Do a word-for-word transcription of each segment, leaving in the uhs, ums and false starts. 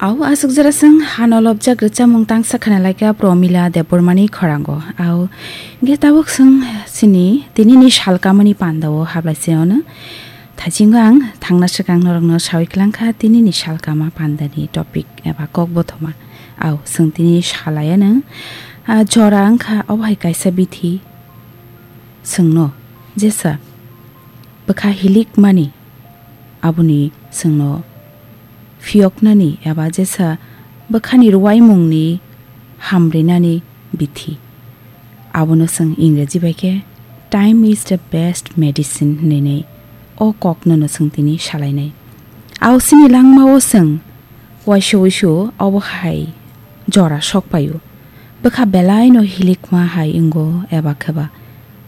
Au aswk jora swng hano lobjak rwchapmung tangsa khna laikha Promila Debbarmani khorango. Au hwnkhe tabuk swng chini tinini salkamani pandao hablaiseono. Thaisingo ang thangna swkang norokno sawi kwlangkha tinini salkama pandani topic eba kokbothoma. Au swng tini salaiano, ah, jora wngkha obo hai kaisa bithi. Chwngno jesa bwkha hilikmani, aboni chwngno phiyoknani eba jesa bwkhani rwuaimungni hamrinani bithi. Abono chwng Ingreji bai khe "Time is the best medicine" hinwi o koknono chwng tini salainai. Au chini langmao chwng uaisa uisu obo hai jora sok paio. Bwkha belaino hilikma hai wngo eba khe ba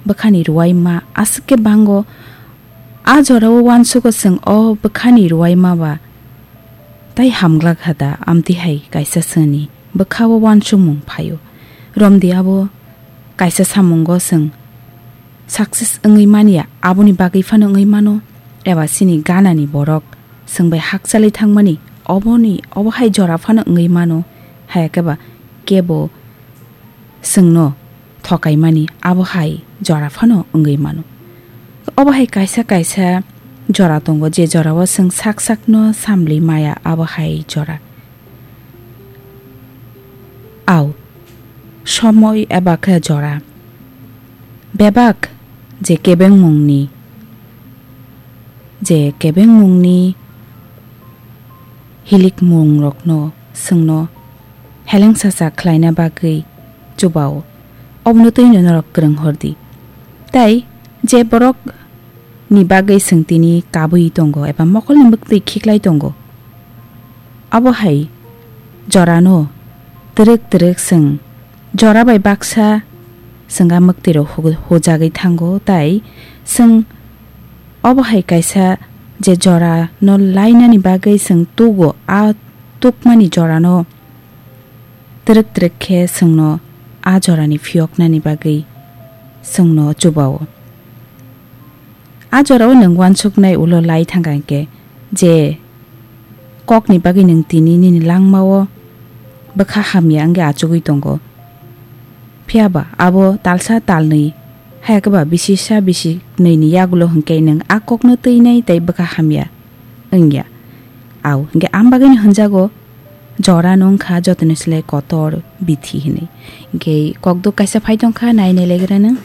bwkhani rwuaima aswk khe bango. A jorao uansugo chwng o bwkhani rwuaima ba tai hamglak ha da, amtwi hai kaisa chwngni bwkhao uansukmung phaio. Romdi abo kaisa samungo chwng success wngwi manya, aboni bagwi phano wngwi mano, eba chini ganani borok chwng bai hakchalwi thangmani oboni, obo hai jora phano wngwi mano, haya khe ba kebo chwngno thokaimani abo hai jora phano wngwi mano. Obo hai kaisa kaisa jora tongo, je jorao chwng sak sakno samlwi maya, abo hai jora. Au, somoi eba khe jora. Bebak je kebengmungni, je kebengmungni hilikmungrokno chwngno helengsacha khlaina bagwi chubao, obono twino norok kwrwng hordi. Tai je borok ni bagwi chwng tini kabwi tongo eba mokolni mwktwi khiklai tongo. Abo hai jorano twrwk twrwk chwng jora bai baksa chwng a mwktwirok hu-, hujagwi thango, tai chwng obo hai kaisa je jorano lainani bagwi chwng tugo, a tukmani jorano twrwk twrwk khe chwngno a jorani phiyoknani bagwi chwngno chubao. A jorao nwng uansuknai ulo lai thangkha hinkhe je kokni bagwi nwng tini nini langmao bwkha hamya wngwi achugwi tongo. Phiyaba abo talsa talnwi, haya khe ba bisisa bisiknwini yagulo hinkhe nwng a kokno twinai tei bwkha hamya wngya. Au, hinkhe am bagwino hwnjago, jorano wngkha jotoni slai kotor bithi hinwi. Hinkhe kokduk kaisa phai tongkha, nai nai legra nwng.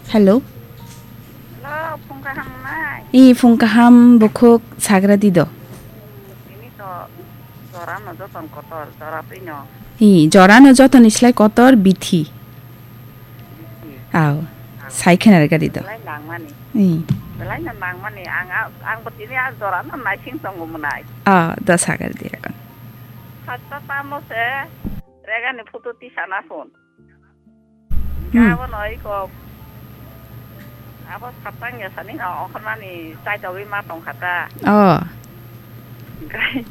Hello. Hello, phung kaham nai? I phung kaham, bukhuk sagra di do. Ini to jorano joton kotor, jora twino. I jorano jotoni slai kotor bithi. Aw, sai khena rega di do. Belai nangmani. Hmm. Belai no nangmani. Ang, ang bo tini a jora no naising tongo mwnai. Ah, da sagar di akon. Hatta tamo se rega ni photo tisana phone. Hmm. Abo no iko. Abo sapang ya sani no okhormani chai togwi ma tong khata. Oh. Gai.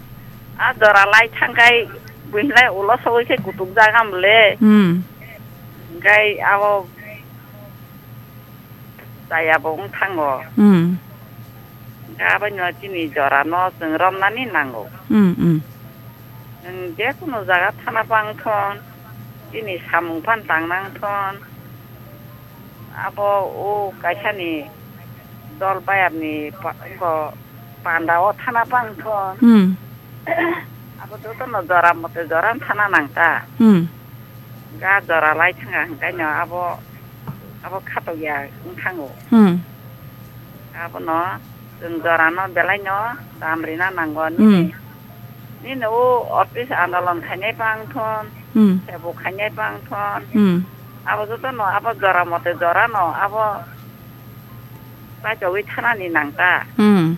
A jora lai thangkai buinlai ulo sogwi khe kutuk jagam le. Hmm. Hinkhe abo chaya bo wng thango. Hmm. Hinkhe abono chini jora no chwng romnani nango. Hmm, hmm. Nwng je kunu jaga thana bang thon, chini samung phan tang nang thon. Abo o kaisa ni dol bayap ni pa-, ko panda o thana bang thon. Hmm. Abo joto no jora mote jora thana nang ta. Hmm. Ga jora lai thanga hingkai no abo, abo khatok ya wng thango. Hmm. Abo no chwng jora no belai no dam rina nango. Hmm. Nini, nini o office andolon khainai bang thon, Hmm. sebo khainai bang thon. Hmm. Abo joto no abo jora mote jora no abo Paitogwi thanani nang ta. Hmm.